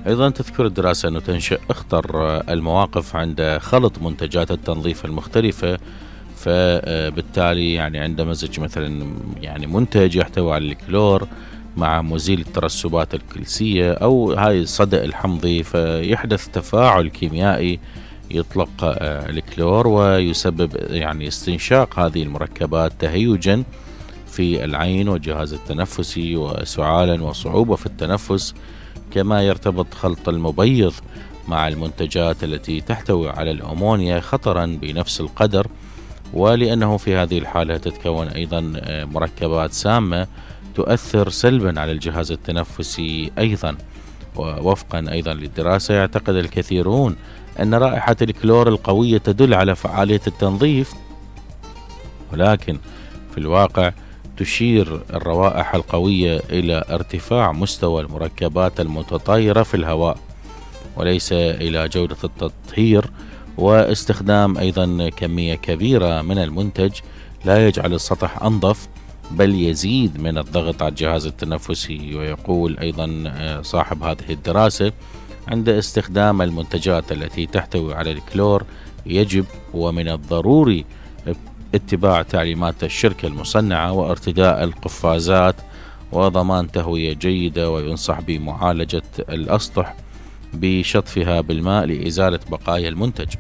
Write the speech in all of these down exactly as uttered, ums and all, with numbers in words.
أيضا تذكر الدراسة أنه تنشئ أخطر المواقف عند خلط منتجات التنظيف المختلفة، فبالتالي يعني عند مزج مثلا يعني منتج يحتوي على الكلور مع مزيل الترسبات الكلسية أو هاي الصدأ الحمضي، فيحدث تفاعل كيميائي يطلق الكلور ويسبب يعني استنشاق هذه المركبات تهيجا في العين والجهاز التنفسي وسعالا وصعوبة في التنفس. كما يرتبط خلط المبيض مع المنتجات التي تحتوي على الأمونيا خطرا بنفس القدر، ولأنه في هذه الحالة تتكون أيضا مركبات سامة تؤثر سلبا على الجهاز التنفسي أيضا. ووفقا أيضا للدراسة يعتقد الكثيرون أن رائحة الكلور القوية تدل على فعالية التنظيف، ولكن في الواقع تشير الروائح القوية إلى ارتفاع مستوى المركبات المتطايرة في الهواء وليس إلى جودة التطهير. واستخدام أيضا كمية كبيرة من المنتج لا يجعل السطح أنظف بل يزيد من الضغط على الجهاز التنفسي. ويقول أيضا صاحب هذه الدراسة عند استخدام المنتجات التي تحتوي على الكلور يجب ومن الضروري اتباع تعليمات الشركة المصنعة وارتداء القفازات وضمان تهوية جيدة، وينصح بمعالجة الأسطح بشطفها بالماء لإزالة بقايا المنتج.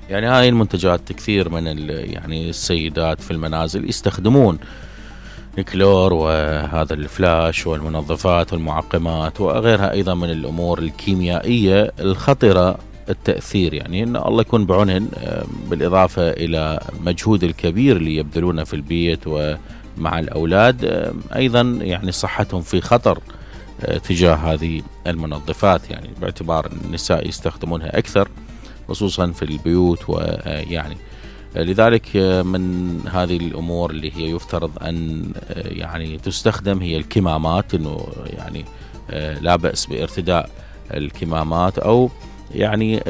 يعني هاي المنتجات كثير من يعني السيدات في المنازل يستخدمون الكلور وهذا الفلاش والمنظفات والمعقمات وغيرها أيضا من الأمور الكيميائية الخطرة التأثير، يعني إن الله يكون بعونهن، بالإضافة إلى مجهود الكبير اللي يبذلونه في البيت ومع الأولاد، أيضا يعني صحتهم في خطر تجاه هذه المنظفات، يعني باعتبار النساء يستخدمونها أكثر خصوصا في البيوت. ويعني لذلك من هذه الأمور اللي هي يفترض أن يعني تستخدم هي الكمامات، إنه يعني لا بأس بارتداء الكمامات أو يعني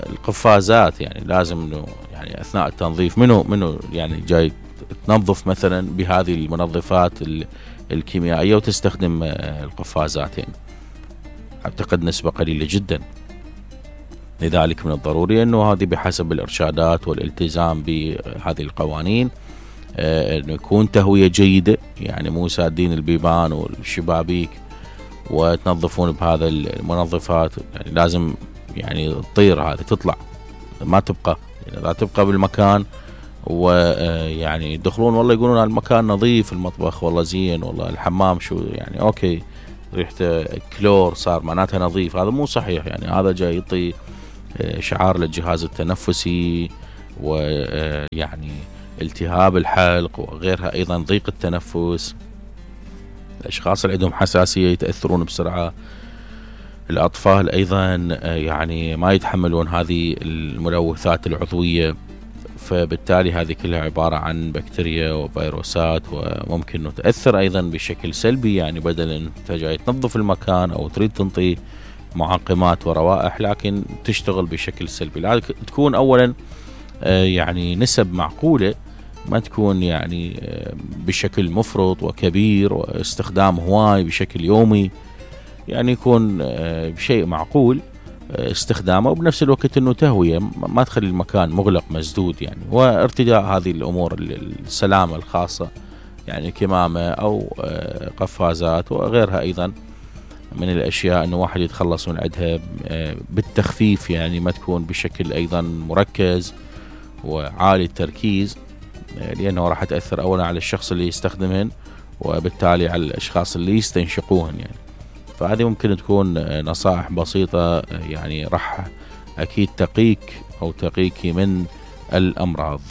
القفازات، يعني لازم إنه يعني أثناء التنظيف منه منه يعني جاي تنظف مثلا بهذه المنظفات الكيميائية وتستخدم القفازات، يعني أعتقد نسبة قليلة جدا. لذلك من الضروري أنه هذه بحسب الإرشادات والالتزام بهذه القوانين، أنه يكون تهوية جيدة، يعني مو سادين البيبان والشبابيك وتنظفون بهذا المنظفات، يعني لازم يعني تطير هذه تطلع ما تبقى، يعني لا تبقى بالمكان ويعني يدخلون والله يقولون المكان نظيف، المطبخ والله زين، والله الحمام شو يعني أوكي ريحته كلور صار معناتها نظيف، هذا مو صحيح. يعني هذا جاي يعطي شعار للجهاز التنفسي ويعني التهاب الحلق وغيرها، أيضا ضيق التنفس، الأشخاص اللي عندهم حساسية يتأثرون بسرعة، الأطفال أيضا يعني ما يتحملون هذه الملوثات العضوية، فبالتالي هذه كلها عبارة عن بكتيريا وفيروسات وممكن أنه تأثر أيضا بشكل سلبي، يعني بدل أن أنت جاي تنظف المكان أو تريد تنطي معقمات وروائح لكن تشتغل بشكل سلبي. لذلك تكون أولا يعني نسب معقولة، ما تكون يعني بشكل مفرط وكبير واستخدام هواي بشكل يومي، يعني يكون بشيء معقول استخدامه، وبنفس الوقت انه تهوية ما تخلي المكان مغلق مسدود، يعني وارتداء هذه الامور السلامة الخاصة، يعني كمامة او قفازات وغيرها ايضا من الاشياء انه واحد يتخلص من عندها بالتخفيف، يعني ما تكون بشكل ايضا مركز وعالي التركيز، لانه راح تأثر اولا على الشخص اللي يستخدمهن وبالتالي على الاشخاص اللي يستنشقوهن. يعني فهذه ممكن تكون نصائح بسيطة يعني راح أكيد تقيك أو تقيك من الأمراض.